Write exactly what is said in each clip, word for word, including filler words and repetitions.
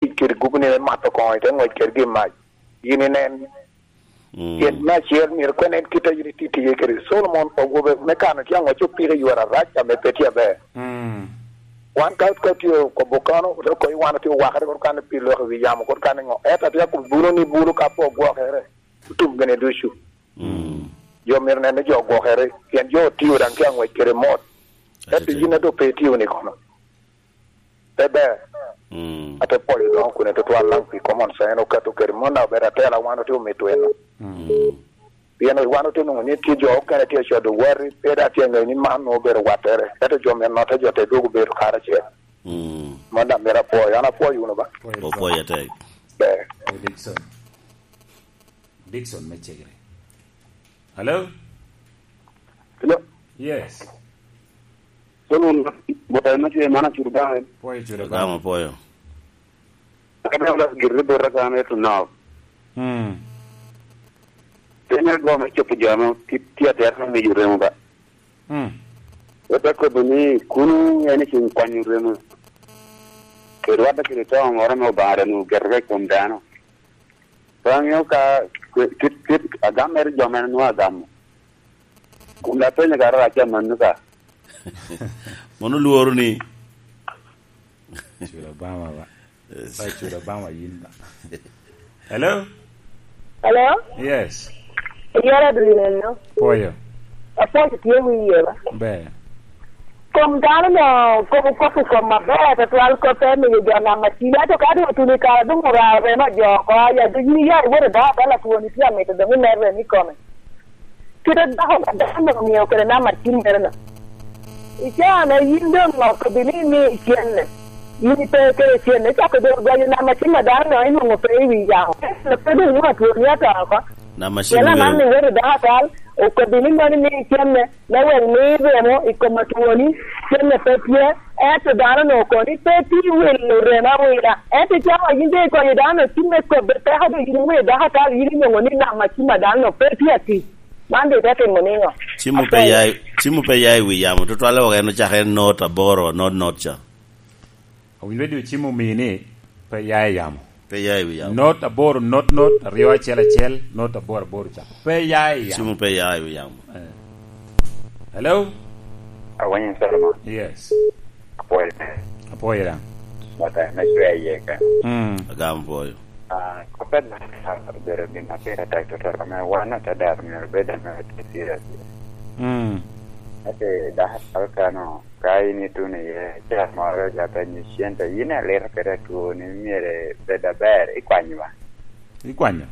tic kede gubni me mato koŋo, ite ŋwec kedgi i mac. Yin inen. Mm. Pien me acel myero kono en kit a yin itye tiye kede Solomon, awobe me kano tye aŋwec opiko i yore arac ame pe tye aber. Mm. Wan ka, ka tye okobo kono, ote koyi wan otye owakere, kono kan pi lok i wi yamo, kono kan iŋo? Ento atye akobo bulo ni bulo ka pe ogwokere, otum gene ducu. Mm. Jo myero nen ni jo ogwokere, pien jo otio daŋ tye aŋwec kede mot. Ento yin a doŋ pe itio ni kono. Pe ber. Mm. Ate pwoyo doŋo kun tutwal laŋ pi common sense okato kede mon daŋ obedo atela wan otye omito eno. Mm. Pien wan otye nwoŋo ni tye jo okene tye codo wati, pe daŋ tye ŋeyo ni man nwoŋo obedo wattere. Ento jo myero notte jo te dwogo bedo karacel. Mm. Mon daŋ myero apwoyo, an apwoyo wunu ba. Opwoyo atek. Ber. Dickson. Dickson me Cegere. Hello? Hello? Yes. Solomon, bota en atye man acudo daŋ en. Pwoyo cudo Gamo pwoyo. Aka daŋ olas gire bota kan eto nok. Hmm. Piny ago me cobo jo ame tye, tye atera me miyo remo ba. Hmm. Wot akobo ni, kuno en icung kwanyo remo. Kede wadda kede to moro ame Obaŋa daŋ ogeto i kom dano. Pe aŋeo ka kwe-, kit, kit agam mere jo mere nwoŋo agamo. Kun apenyo kara rac amanno ka. Mono lworo ni. Cula Obama ba. Yes. Ba cula Obama yin ba. Hello? Hello? Yes. Yara Adriano. Poyo. Apwoyo tye wiye ba. Ber. Kom dano no, kom okop i kom aber, tutwal kop te miyo jo nam acil. Ento ka doŋ otuno i kare, doŋ oraro remo jo oko, ya doŋ yin iya iwoto dako atala twoni tye amito doŋ imer remo i kome. Kite dako ma dano no omio kede nam acil mere no. I caa me yin doŋ okobbi ni imi cenne. Yin ipe kede cenne, icako doŋ gwayo nam acil ma dano no inwoŋo pe i wi yamo. Ento pe doŋ nwoŋo atwoni ato oko. Nam acil mere. Pien aman iwoto dako atal, okobbi ni moni ni cenne. Me wek mi remo i kom atwoni, cenne pe tye, ento dano onwoŋo kono ni pe tye wilo remo awila. Ento icawa yin doŋ ikonyo dano, cim me kobbe peko doŋ yin iwilo dako atal, yin inwoŋo ni nam acim a dano no pe tye atic. Man doŋ ite timo niŋo? Cim pe ya, cim pe ya i wi yamo, tutwalle wok en ocako en not aboro, not, not ca. Owinyo bedo cim omii ni pe ya i yamo. Pe ya i wi yamo. Not aboro, not, not, aryo, acel, acel, not aboro, aboro ca. Pe ya i yamo. Cim pe ya i wi yamo. Eh. Hello? Awinyo Solomon. Yes. Apwoyo. Apwoyo daŋ. Mata me cwe iye ka. Mm. Agamo pwoyo. Ah, kop a dano obedo gin ma pire tek tutwal, ame wan ata dero myero obed ame tye serious. Mm. Ate dano atwal kano, ka in ituno iye, cal moro ojape ni cente, yin alito kede atwoni, myero bed aber, ikwanyo ba? Ikwanyo.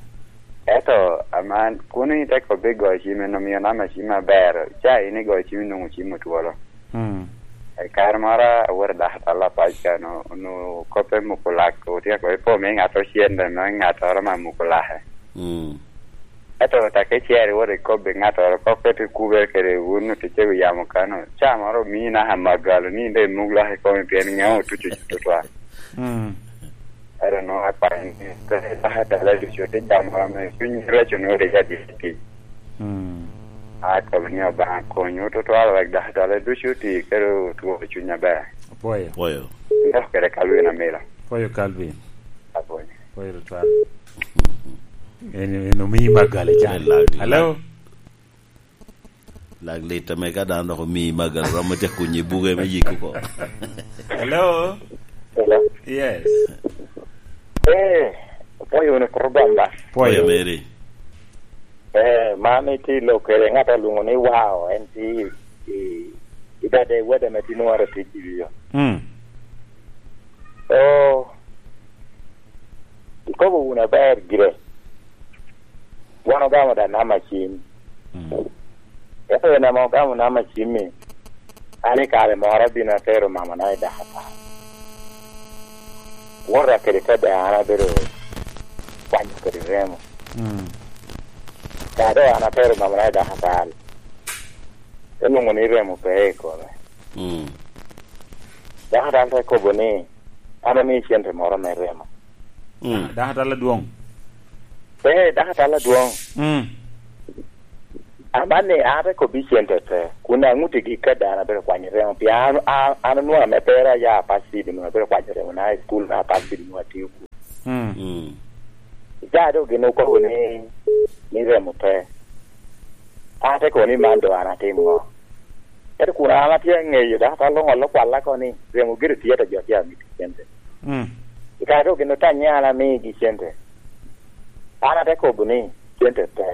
Ento, aman, kun ite kobbi goyo cim, en omio namba cim aber, ca in igoyo cim, inwoŋo cim otwolo. Mm. I kare moro awoto dako atalla pac kan, onwoŋo koppe muko lak, otyeko ipo me ŋat ocende, me ŋattoro ma muko lake. Mm. Ento tak icero iwoto ikobbi ŋattoro, kop pe te kubere kede wun oticce wi yamo kano, ca moro omii naka magalo ni in dok imuk lak i komi pien ŋeo otuco tutwal. Mm. Ento nwoŋo akwanyo ni, pe dako atalla ducu te jamo ame cuny reco nwoŋo rik adit i tic. Mm. Akobo ni Obaŋa konywu tutwal wek dako atalla ducu oti kede otwo cuny aber. Apwoyo. Apwoyo. Ndok kede Calvin Amila. Apwoyo Calvin. Apwoyo. Apwoyo tutwal. En, en omii magalo can. En lag-, hello? Lag lit ame ka dano dok omii magalo romo te kunyo i buge me yiko oko. Hello? Hello? Yes. Eh, apwoyo wunu program ba? Apwoyo. Apwoyo meri. Eh, man itye i lok kede ŋat alwoŋo ni Wao, en tye i, i, i dade wede ame tye nwara tic i yo. Mm. Oh, ikobo wunu aber gire. Wan ogamo da nama cim. Mm. Ento en ame ogamo nama cim-mi, an i kare moro abino atero mamana i dakatar. Wota kede kede an abedo kwanyo kede remo. Mm. Ka doŋ an atero mamana i dakatar, te lwoŋo ni remo pe i kome. Mm. Dakatar te kobo ni, "An amii cente moro me remo." Mm. Dakatar adwoŋ. Eh, dakatar adwoŋ. Mm. Amanni, an ate kobbi cente pe, kun aŋutti gik ka dano abedo kwanyo remo, pien an, an, an onwoŋo ame pera aya apacit, onwoŋo abedo kwanyo remo na i cukul na apacit onwoŋo atio kun. Mm. Mm. Icaa doŋ gin okobo ni, ni remo pe. An ate kobo ni man doŋ an atimo ŋo? Ento kun an atye aŋeyo, dok ata luŋ olo kwalla ko ni, remo gire tye ata jo tye amito cente. Mm. I kare doŋ gin otanye an amigi cente. An ate kobo ni, cente pe.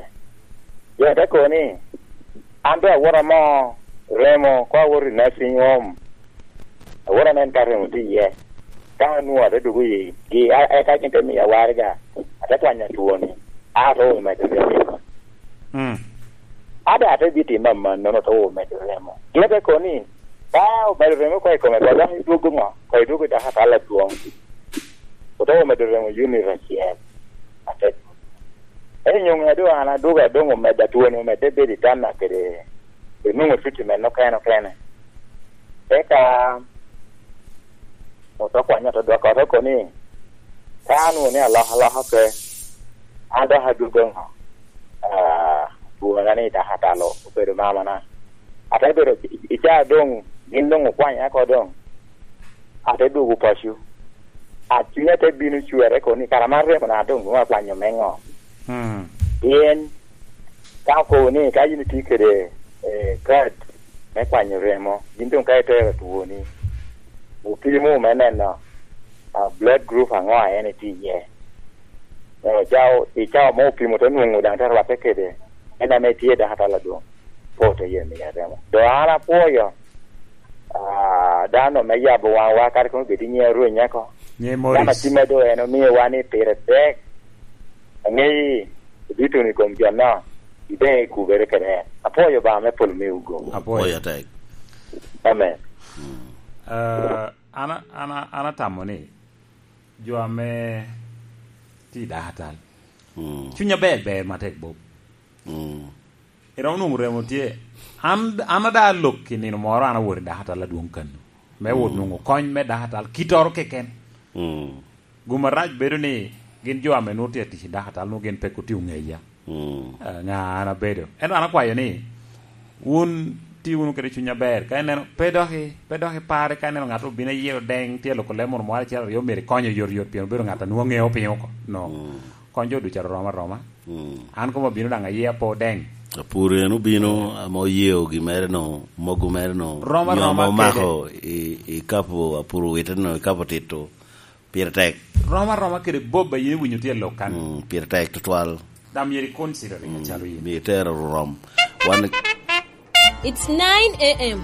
Jo te kobo ni, an doŋ awoto amo remo, koŋ awoto i nursing home. Awoto anen ka remo tye iye. Ka anwoŋo ate dwogo i gi, a-, eka gin te miya waraga, ate kwanyo atwoni, a ate omedo remo. Mm. A doŋ ate bitimo amannono, ate omedo remo. Gin te kobo ni, ka omedo remo oko i kome, koŋ dok idwogo ŋo? Koŋ idwogo i dakatal adwoŋ. Ote omedo remo unit acel. Ate, ento nyoŋe a doŋ an adwogo, a doŋ omedde, atwoni omedde bedo i tamma kede, kede nwoŋo treatment okene okene. Eka ote kwanya, ote dwoko, ote kobo ni, ka anwoŋo ni alokaloka pe, an dok adwogo ŋo? Ah, twona ni dakatal obedo mamana. Ate bedo i, i caa doŋ, gin doŋ okwanya oko doŋ. Ate dwogo paco. A, cunya te bino cwere kono ni, "Kara man remona doŋ nwoŋo akwanyo me ŋo?" Mm. Pien ka okobo ni ka yin itye kede, eh, kad me kwanyo remo, yin doŋ ka itero twoni, opimo me neno, ah, blood group aŋo a en itye iye. Eh, ca o-, i cawa mo opimo te nwoŋo daŋ te rwatte kede en ame tye dakatal adwoŋ. Pe ote ye miya remo. Doŋ an apwoyo, ah, dano me yabo waŋwa, kadi kono bed i nyiŋ Arweny oko. Nyiŋ Morris. Dano atima doŋ en omiowa ni pire tek. Aŋeyi, ibituno i kom jo-no, ibeŋ i kubere kede en. Apwoyo Obaŋa me polo miwu goba. Apwoyo. Apwoyo tek. Amen. Mm. Ah, an, an, an atamo ni jo ame tye i dakatal, mm, cuny aber ber matek, Bob. Mm. Iromo nwoŋo remo tye. An, an ada alok i nino moro, an awot i dakatal adwoŋ kano. Me wot, mm, nwoŋo kony me dakatal, kitoro keken. Mm. Gum arac bedo ni gin jo ame nwoŋo tye atic i dakatal, nwoŋo gin peko tye oŋeya. Mm. Ah, ŋa an abedo. Ento an akwayo ni, wun ti wunu kede cuny aber. Ka ineno, pe dok i, pe dok ipare ka ineno ŋat obino iye odeŋ, tye aloko leb moro moro acel aryo, myero ikonye yot yot, pien obedo ŋat a nwoŋo ŋeo piny oko. No. Mm. Kony jo ducu arom aroma. Mm. An komo abino daŋ aye apo deŋ. Apur en obino, ame oyeo gi mere no, mogo mere no, rom aroma kede. Nyo ame omako i, i kapo apur wite no, i kapo tito, pire tek. Rom aroma kede Bob a yin iwinyo tye i lok kan. Mm, pire tek tutwal. Dam myero i consider, mm, acalo yin. Myero itero rom. Wan It's nine a m.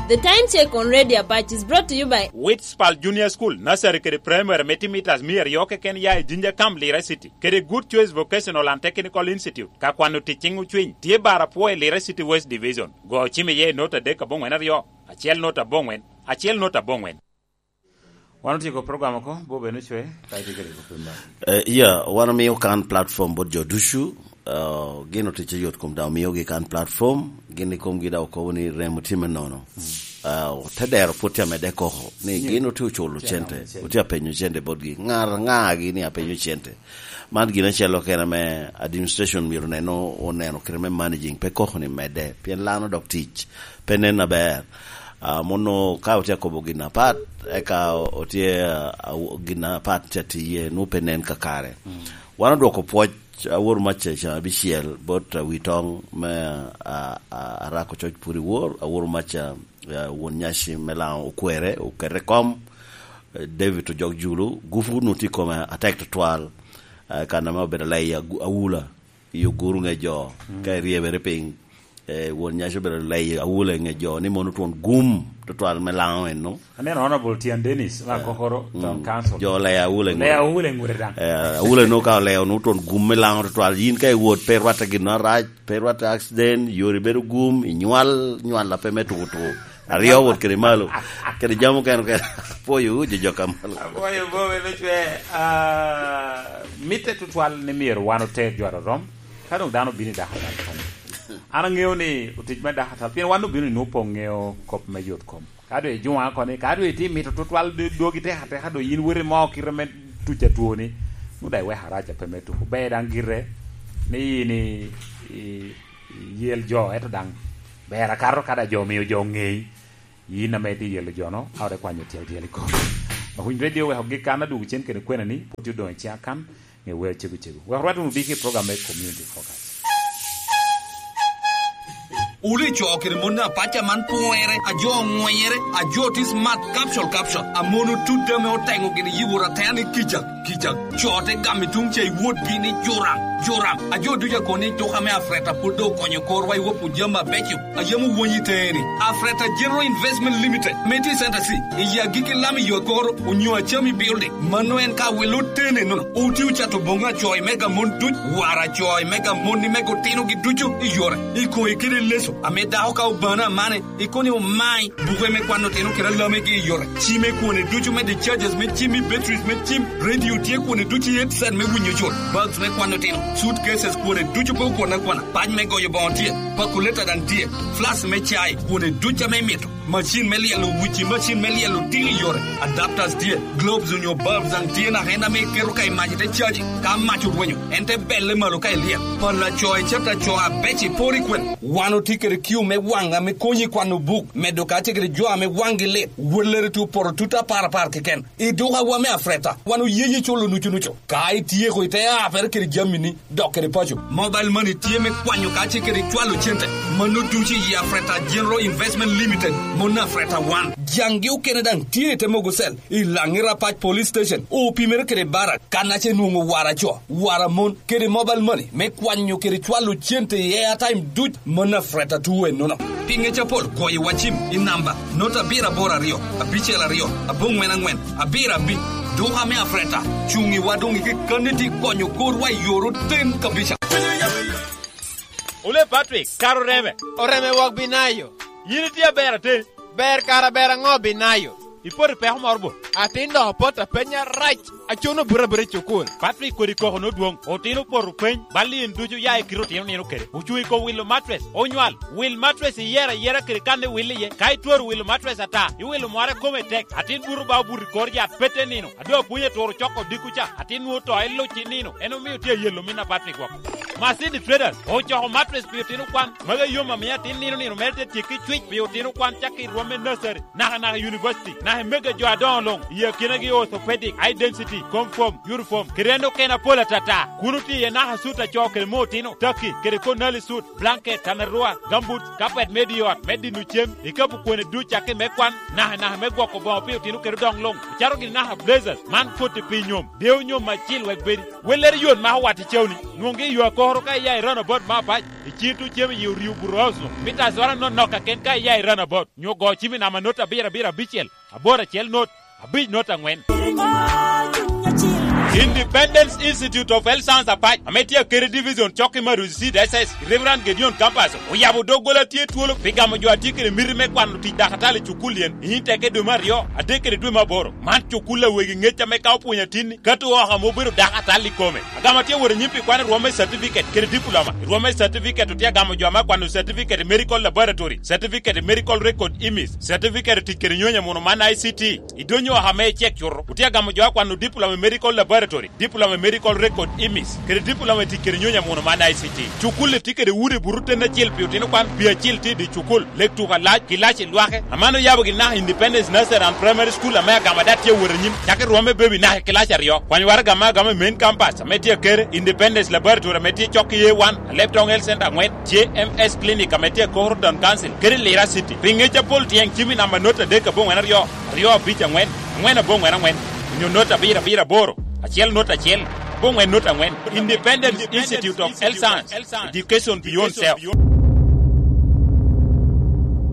The time check on Radio Apac is brought to you by Witspal Junior School, Nursery kede Primary me timitas mia aryo keken ya i Jinja Camp, Lira City, kede Good Choice Vocational and Technical Institute. Ka kwano tic ciŋ ocwiny, tye bar apwo i Lira City West Division. Go ocim iye i not adek aboŋwen aryo, acel not aboŋwen, acel not aboŋwen. Wan otyeko program oko, Bob en ocwe, ka itye kede kop i bal. Eh, iya, wan omio kan platform bot jo ducu, eh, gin otic yot kom daŋ omiogi kan platform, gin i komgi daŋ okobo ni remo tye me nono. Mm. Eh, te dero pwod tye amedde koko, ni, yeah, gin otye oculo cente, cente, otye apenyo cente botgi. Ŋar, ŋa gi ni apenyo cente? Man gin acel okene ame administration myero oneno, oneno kite me managing, pe koko ni medde, pien lano dok tic pe nen aber. Ah, mono ka otye akobo gin apat, eka otye, ah, aw-, gin apat tye atiye, nwoŋo pe nen kakare. Mm. Wan odwoko pwoc, awoto mac ca abicel bot, ah, wi toŋ me, ah, ah, Arako Coc Puri Wor, awoto mac, ah, ah, won nyaci me Laŋo okwere, okete kom, eh, David Ojok Julu, gupu nu tye i kome atek tutwal, ah, kan ame obedo alei agu-, awula. I oguru ŋe jo, mm, ka iryebere piny, eh, won nyaci obedo leyo awula i ŋe jo, ni mono twon gum tutwal me Laŋo eno. Aneno Honorable Tian Dennis, ma, eh, kokoro, mm, town council. Jo leyo awula i ŋute. Leyo awula i ŋute daŋ. Eh, awula eno ka oleyo, nwoŋo twon gum me Laŋo tutwal. Yin ka iwot, pe irwatte gin arac, pe irwatte accident, yori bedo gum, inywal, nywal ape me tuku tuku. Aryo wot kede malo. Kede jami okene okene. Apwoyo, jo, jo ka malo. Apwoyo, Bob en ocwe, ah, mitte tutwal ni myero wan oter jo arorom. Ka doŋ dano obino i dakatal kany, an aŋeo ni otic me dakatal, pien wan obino i nwoŋo poŋ ŋeo kop me yot kom. Ka doŋ ijuŋa oko ni, ka doŋ itye mito tutwal do-, dwogi tek ateka, doŋ yin woti mo kite me tuc atwoni, nwoŋo daŋ iweko arac ape me tuko. Ber daŋ gire ni yin i, i, Yel jo, ento daŋ ber akato ka daŋ jo omio jo oŋei. Yin ame itye yelo jo-no, a ote kwanyo tyel tyel i kom. Makuny Radio oweko gik kan adwogo cen kede kwena ni, pwod odoŋ i ciŋa kan, nge wer cego cego. Wek rwat wunu diki i program me Community Focus. Wulu i co kede mon apac aman pwere, a jo oŋwenyere, a jo tye smart, capsule, capsule, a mon otut ame oteŋo gini yiworo atea ni kica, kica. Co te gamo i tuŋ ca i wotgi ni juram, juram. A jo ducu akobo ni tuka me Afreta pwod doŋ okonyo korwa i woko jami abeco a yam owonyo i teeni. Afreta General Investment Limited, ame tye i Center C, i agikki lam i yo akoro, onyo Acami Building. Mano en ka wilo tene nono. Oti ocato boŋo acoy mega mon duc, wara acoy mega mon ni mega otinogi ducu i yore, i koŋe kede leso, ame dako ka obano amane, ikono ni omai, buke me kwano otino kede alamegi i yore, cime kwone ducu me discharges me cim i batteries me cim, radio tye kwone ducu i headset me winyo cut, bags me kwano otino, suitcases kwone ducu pe okwane akwana, pac me goyo boŋo tye, pakuleta daŋ tye, flask me cai kwone ducu ame imito. Macin me lyelo wuci, macin me lyelo tiko i yore, adapters tye, globes onyo bulbs daŋ tye, naka en ame iketo ka i mac ite caji. Ka mac orwenyo, en te belle malo ka ilyel. Pala co i cata co abeco iporo i kwene. Wan otye kede kiu me waŋ ame konyi i kwano buk, medo kacel kede jo ame waŋgi lit. Wellere tye opoto tut apar apar keken. I dukawa me Afreta, wan oyeyi culo nucu nucu. Ka ityeko, ite apere kede jamini, dok kede paco. Mobile money tye me kwanyo kacel kede cwalo cente. Mano ducu i Afreta General Investment Limited, mon Afreta One. Jaŋgi okene daŋ tye i te mogo cell, i Laŋi Rapac Police Station, opimere kede Barak, kan ace nwoŋo wara co, wara mon, kede mobile money me kwanyo kede cwalo cente i airtime duc, mon Afreta two ennono. Pi ŋec apol, goyo wa cim i namba not abiro aboro aryo, abicel aryo, aboŋwen aŋwen, abiro abic. Duka me Afreta cuŋ i wa doŋ i kekkanni tye konyo korwa i yor oten kabisa. Ole Patrick, kara oreme. Oreme wok Binayo. Yin itye aber atin. Ber kara ber aŋo Binayo? Ipoto i peko moro bo? Atin dok opot apenya rac. Acono buto abuta i cukul. Patrick kodi koko nodwoŋ. Otino opoto peny. Bal i en ducu ya i kite otino nino kede. Ocuŋ i kom wilo matres. Onywal. Wil matres iyera ayera kede kan iwil iye. Ka itwero wilo matres ata, iwilo mware kome tek. Atin buto ba obuto i kor yat pete nino. Ado apwony aturo coko odiko ca. Atin nwoŋo to iluc i nino. En omio tye ayelo min a Patrick woko. Masini Traders ocoko matres pi otino kwan. Magi yom amio atin nino nino mere te tyekki cwic pi otino kwan cakki i rwom me nursery. Naka naka i university, naka i mege jo adoŋo luŋ, i akinagi orthopedic, eye density, confirm, uniform, kede en okene apol atata. Kun otye iye naka sut a co kede moo otino, taki, kede konali sut, blanket, tanarua, gambut, kapet me di ot, me dino cem, ikapu kwene duc cakki me kwan, naka naka me gwoko boŋo pi otino kede odoŋ luŋ, ocato gini naka blazers, man koti pi nyom, deyo nyom acil wek bedi. Wellere yot ma owat i cewni, nwoŋgi i yo akoro ka iya i roundabout me apac, i cito cem i orio buto oso, mita azora nonok kaken ka iya i roundabout. Nyo go cim i namba not abiro abiro abicel, aboro acel not, abic not aŋwen. Independence Institute of Health Science Apac, ame tye akede division cok i Maruzi Seed S S, Reverend Gedeon Campus, oyabo doggola tye twolo pi gamo jo a tye kede miti me kwano tic dakatali i cukul yen, i nyim teke dwe me aryo, adek kede dwe me aboro. Man cukul a wegi ŋec ame ka opwonyo atinni, kato oko ame obedo dakatali i kome. Agamo tye wot anyim pi kwano rwom me certificate kede diploma. I rwom me certificate otye agamo jo ame akwano certificate i medical laboratory, certificate i medical record imis, certificate i tic kede nyonyo amuno man I C T. I donyo oko ame icek cuto, otye agamo jo akwano diploma i medical laboratory, diploma i medical record imis, kede diploma i tic kede nyonyo amuno man I C T. Cukul-li tye kede udi buto ten acel pi otino kwan, pi acil tye i dye cukul, lek tuko alac, kilaci lwake. Aman oyabo gin naka Independence Nursery and Primary School ame agamo ada tye awot anyim, cakki rwom me baby naka i kilaci aryo. Kwany waraga me agamo i main campus ame tye akere, Independence Laboratory ame tye cok i A one, Alebtong Health Center aŋwen, J M S Clinic ame tye akoro Town Council, kede Lira City. Pi ŋec apol tyeng cim i namba not adek aboŋwen aryo, aryo abic aŋwen, aŋwen aboŋwen aŋwen, onyo not abiro abiro aboro, acel not acel, aboŋwen not aŋwen. Independence Institute of Health Science, Education Beyond Self.